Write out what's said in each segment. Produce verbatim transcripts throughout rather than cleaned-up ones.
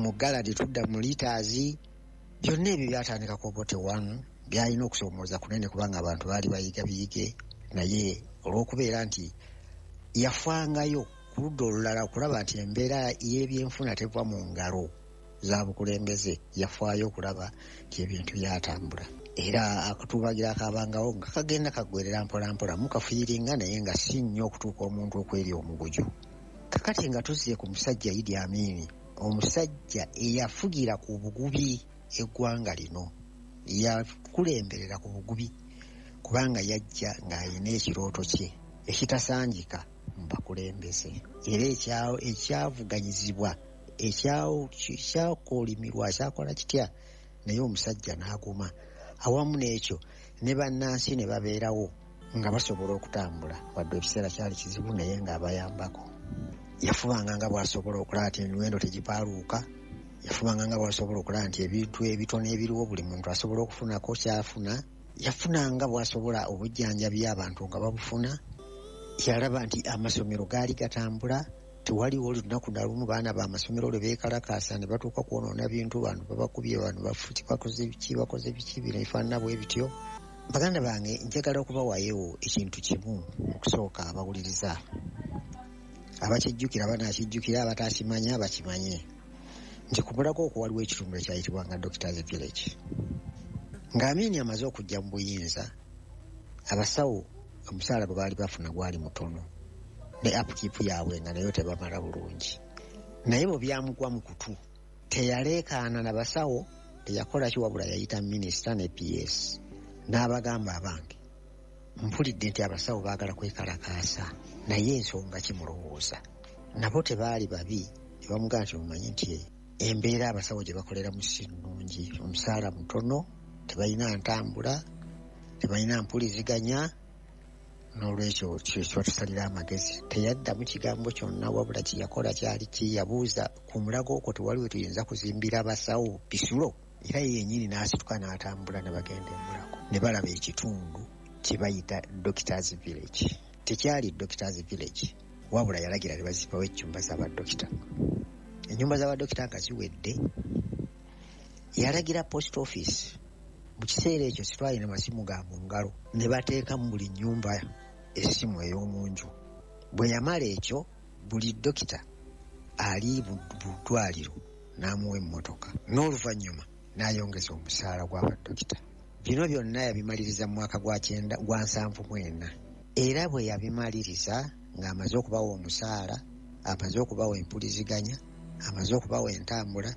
Mu gala tetudda mu litres. Byonna ebyo byatandika ku Obote one. Byalina okusoomooza kunene kubanga abantu baali bayiga biyige, naye olw'okubeera nti yafangayo ku ludda olulala okulaba nti embeera y'ebyenfuna teva mu ngalo za bukulembeze, yafaayo okulaba nti ebintu byatambula. Era akatuubagira akabangawo nga kagenda kaggwerera mpolampola mukafuyiringa, naye nga si nnyo okutuuka omuntu okwerya omuguju. Kakati nga tuzze ku musajja Idi Amini, omusajja eyafugira ku bugubi eggwanga lino, yakulemberera ku bugubi kubanga yajja ng'alina ekirooto kye ekitasangika mu bakulembeze, era ekyavuganyizibwa, ekyakolimirwa, kyakola kitya, naye omusajja n'aguma. Awamu n'ekyo ne bannansi ne babeerawo nga basobola okutambula, wadde ekiseera kyali kizibu, naye ng'abayambako. Yafubanga nga bw'asobola okulaba nti emiwendo tegipaaluuka, yafubanga nga bw'asobola okulaba nti ebintu ebitono ebiriwo buli muntu asobola okufunako kyafuna, yafunanga bw'asobola obujjanjabi abantu nga babufuna. Yalaba nti amasomero gaali gatambula, tewaliwo lunaku na lumu baana b'amasomero lwe beekalakaasa ne batuuka kwonoona bintu, bantu babakubye, bantu bafuti, bakoze biki, bakoze biki, bino ebifaanana bwe bityo. Baganda bange, njagala okubawayo ekintu kimu. Okusooka abawuliriza abakijjukira banaakijjukira, abatakimanya bakimanye nti ku Mulago okwo waliwo ekitundu ekyayitibwanga Doctors Village. Ng'Amiini amaze okujja mu buyinza, abasawo omusaala gwe baali bafuna gwali mutono, ne upkeep yaabwe nga nayo tebamala bulungi. Naye bwe byamugwa mu kutu, teyaleekaana na basawo, teyakola ki, wabula yayita minisita ne P S n'abagamba, "Abange, mpulidde nti abasawo baagala kwekalakaasa, naye ensonga kimulowooza?" Nabo tebaali babi, ne bamugamba nti, "Omanyi nti embeera abasawo gye bakoleramu si nnungi, omusaala mutono, tebalina ntambula, tebalina mpuliziganya, n'olwekyo kyebatusalira amagezi." Teyaddamu kigambo kyonna, wabula kyeyakola kyali ki? Yabuuza, "Ku Mulago okwo tewali we tuyinza kuzimbira abasawo bisulo?" Era ye yennyini n'asituka n'atambula ne bagenda e Mulago ne balaba ekitundu kye bayita Doctors Village. Tekyali Doctors Village, wabula yalagira ne bazimbawo ennyumba z'abadokita. Ennyumba z'abadokita nga ziwedde, yalagira post office, mu kiseera ekyo sitwalina masimu ga mu ngalo, ne bateeka mu buli nnyumba essimu ey'omu nju. Bwe yamala ekyo, buli dokita ali mu ddwaliro n'amuwa emmotoka, n'oluvannyuma n'ayongeza omusaala gw'abadokita. Bino byonna yabimaliriza mu mwaka gwa kyenda gwa nsanvu mu ena. Era bwe yabimaliriza ng'amaze okubawa omusaala, amaze okubawa empuliziganya, amaze okubawa entambula,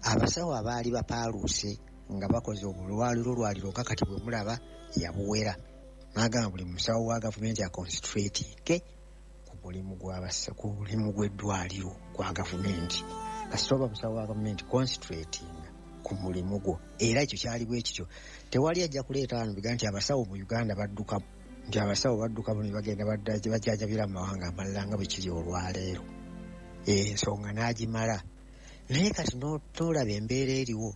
abasawo abaali bapaaluuse nga bakoze obulwaliro lwaliro nga kati bwe mulaba, yabuwera n'agamba buli musawo wa gavumenti aconcentratinge ku mulimu gw'abasa ku mulimu gw'eddwaliro gwa gavumenti. Kasita oba musawo wa gavumenti, concentratinga ku mulimu gwo. Era ekyo kyali bwe kityo. Tewali ajja kuleeta wano biga nti abasawo mu Uganda badduka, nti abasawo badduka ne bagenda bajjanjabira mu mawanga amalala nga bwe kiri olwaleero. Ensonga n'agimala. Naye kati n'olaba embeera eriwo,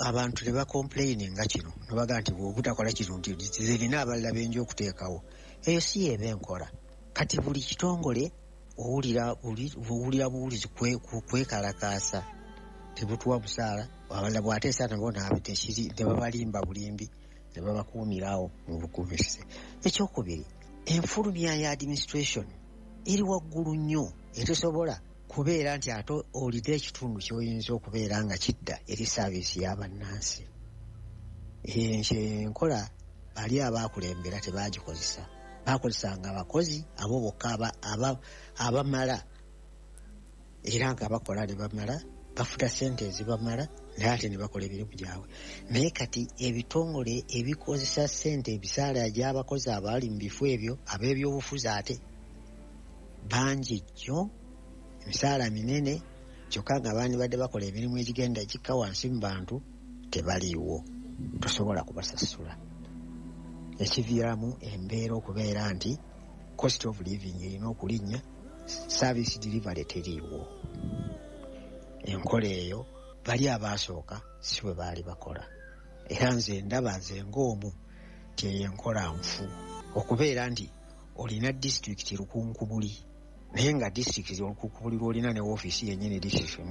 abantu ne bacomplaininga kino, nebagaa nti bwobutakola kino nti zirina abalala benja okuteekawo. Eyo si yeeba enkola. Kati buli kitongole owulira owulira buwulizi kwekalakaasa, tebutuwa musaala. Abalala bw'ateesa nabo tekiri, ne babalimba bulimbi ne babakuumirawo mu bukuumise. Ekyokubiri, enfulumya ya administration eri waggulu nnyo, etesobola kubeera nti ate olina ekitundu ky'oyinza okubeera nga kidda eri service y'abannansi. Enkola bali abaakulembera tebagikozesa, bakozesanga abakozi abo bokka abamala, era nga bakola ne bamala, bafuna sente ezibamala, naye ate ne bakola emirimu gyabwe. Naye kati ebitongole ebikozesa sente, ebisaala gy'abakozi abaali mu bifo ebyo, ab'ebyobufuzi ate bangi nnyo, emisaala minene, kyokka nga bandibadde bakola emirimu egigenda egikka wansi mu bantu tebaliiwo, tosobola kubasasula, ekiviiramu embeera okubeera nti cost of living erina okulinnya, service delivery teriiwo. Enkola eyo bali abaasooka si bwe baali bakola. Era nze ndaba nze ng'omu nti eyo enkola nfu, okubeera nti olina disitulikiti lukunkubuli, naye nga disitulikiti olukunkubuli lwolina ne woofiisi yennyini disitulikiti.